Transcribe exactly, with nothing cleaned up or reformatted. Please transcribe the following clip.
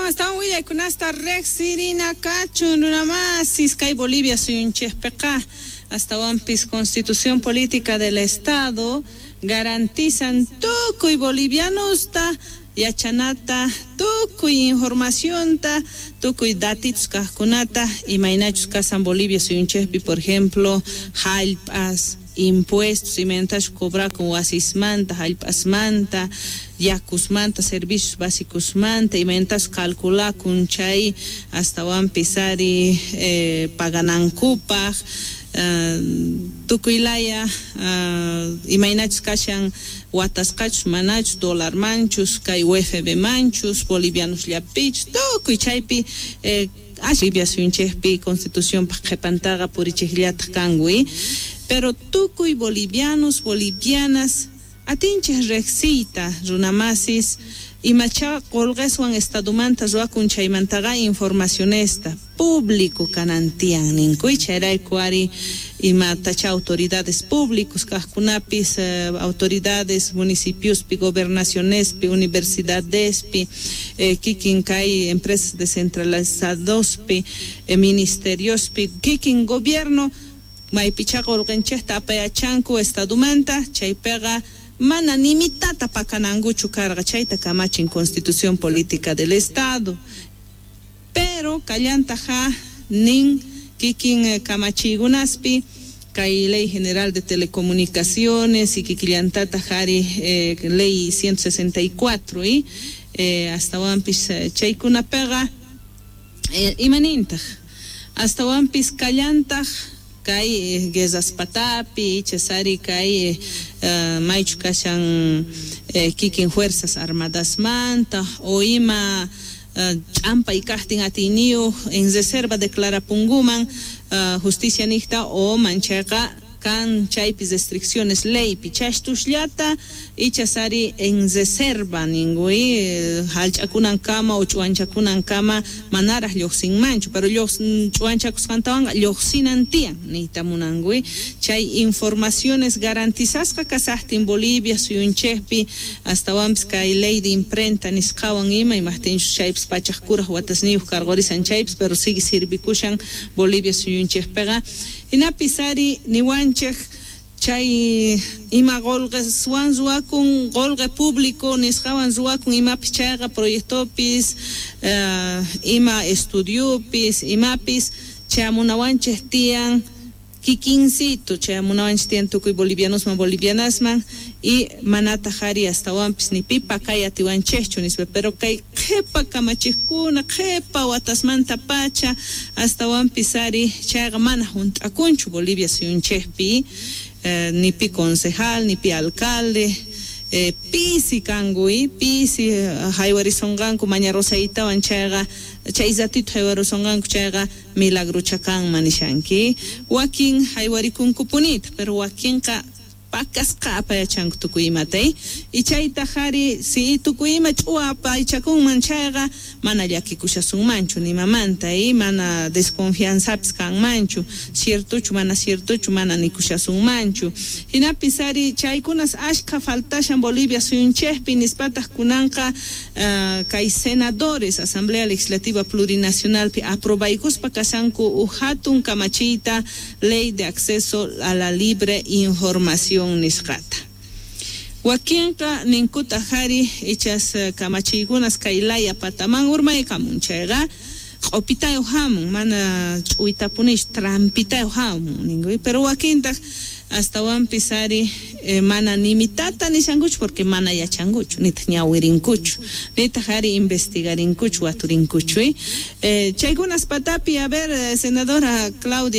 Astawan astawan willaykunasta riqsirina kachun runamasis kay Bolivia suyunchikpiqa astawanpis Constitución Política del Estado garantizan tukuy bolivianosta yachanata tukuy informacionta tukuy datitos kaqkunata imaynachus kasan Bolivia suyunchikpi, por ejemplo, hallp'as, impuestos imaynatachus cobrakun wasismanta, hallp'asmanta, yakusmanta, servicios básicosmanta, imaynatachus calculakun chay astawanpis ari eh, paganankupaq uh, tukuy laya uh, imaynachus kashan watasqachus manachus dólar manchus kay U F B manchus bolivianos llapichus tukuy chaypi eh, Bolivia suyunchikpi constitución paq qhipantaqa purichiqllataq kanku, pero tukuy bolivianos, bolivianas atinchik riqsiyta runamasis imacha qullqiswan estadomanta ruwakun chaymantaqa informacionesta público kanan tiyan ninkuy. Chayrayku ari imatacha autoridades públicos kaqkunapis eh, autoridades municipiospi, gobernacionespi, universidadespi, eh, kikin kay empresas descentralizadospi, eh, ministeriospi, kikin gobierno maypicha qullqinchikta apayachanku estadomanta chaypiqa mana nimitata pakanankuchu karqa, chayta kamachin Constitución Política del Estado. Pero kallantaqa nin kikin eh, kamachiykunaspi kay Ley General de Telecomunicaciones y kikillantataq ari eh, Ley ciento sesenta y cuatro y eh, astawanpis eh, chaykunapiqa eh, imanintaq astawanpis kallantaq kay eh, guerras patapi ichasari kay eh, maychu kashan eh, kikin Fuerzas Armadasmanta o ima uh, ch'ampay kaqtin atiyniyuq en reserva declarapunguman uh, justicia niqta o manchayqa kan chaypi restricciones leypi chashtusllata ichasari en reserva ninkuy hallch'akunankama o ch'uwanchakunankama manaraq lluqsinmanchu, pero ch'uwanchakusqantawanqa lluqsinan tiyan niyta munankuy. Chay informaciones garantizasqa kasaqtin Bolivia suyunchikpi astawanpis kay Ley de Imprenta nisqawan ima imaqtinchus chaypis pachaq kuraq watasniyuq karqurisan chaypis, pero sigue sirvikushan Bolivia suyunchikpiqa. Hinapis ari niwanchik chay ima qullqiswan ruwakun, qullqi público nisqawan ruwakun imapis chayqa proyectopis uh, ima estudiopis imapis chayamunawanchik tiyan kikinsito, chayamunawanchik tiyan tukuy bolivianosman, bolivianasman y manataq ari astawanpis ni pipa kay atiwanchikchu nispa. Pero kay qhipa kamachiqkuna qhipa watasmanta pacha astawanpis ari chayqa mana hunt'akunchu Bolivia suyunchikpi eh, ni pi concejal ni pi alcalde eh, pisi kanku pisi haywarisonqanku maña Rosaitawan chayqa chay ratito haywarisonqanku chayqa milagrocha kanman nishanki. Wakin haywarikunkupunita, pero wakinqa pakasqa apayachanku tukuy imata y chaytaq ari si tukuy ima ch'uwa apaychakunman chayqa mana llakikushasunmanchu nimamanta y mana desconfianzapis kanmanchu, ciertochu mana ciertochu mana nikushasunmanchu. Hinapis ari chaykunas ashka faltashan Bolivia suyunchikpi nispataq kunanqa uh, kay senadores Asamblea Legislativa Plurinacionalpi aprobaykuspa kashanku uj hatun kamachiyta, Ley de Acceso a la Libre Información nisqata. Wakinqa ninkutaq ari ichas kamachiykunas kay laya pataman urmaykamun chayqa q'upitayuq hamun, mana ch'uytapunichu, trampitayuq hamun ninkuy, pero wakintaq astawanpis ari eh, mana nimitata nishankuchu porque mana yachankuchu nitaq ñawirinkuchu nitaq ari investigarinkuchu waturinkuchu eh, chaykunas patapi, a ver, senadora Claudia.